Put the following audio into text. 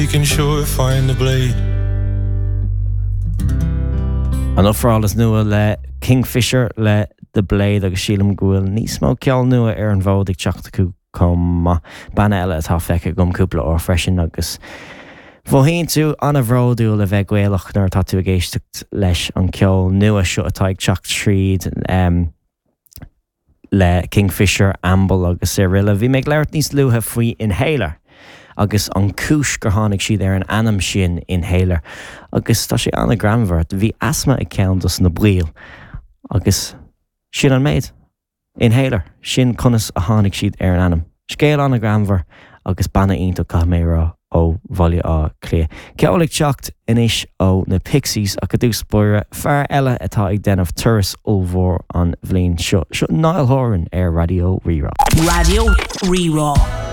You can sure find the blade. An ofráil is nua le Kingfisher le The Blade agus sílim go bhfuil níos mó ceol nua ar an bhfód ag teacht acu chomh maith. Banna eile atá feicthe agam cúpla uair freisin agus mhothaíonn tú an-bhródúil a bheith Gaelach nuair atá tú ag éisteacht leis an ceol nua seo atá ag teacht tríd. le Kingfisher, Amble agus araile. Bhí mé ag labhairt níos luaithe faoi Inhaler agus an cúis gur tháinig siad ar an ainm sin Inhaler agus tá sé an-ghreannmhar. Bhí asma ag ceann dos na baill agus sin an méid. Inhaler. Sin conas a tháinig siad ar an ainm. Scéal an-ghreannmhar agus banna iontach, caithfidh mé a rá, ó Bhaile Átha Cliath. Ceol ag teacht anois ó na Pixies ach i dtús báire, fear eile atá ag déanamh turas ollmhór an bhliain seo. Seo Niall Horan ar Raidió Rí-Rá. Raidió Rí-Rá.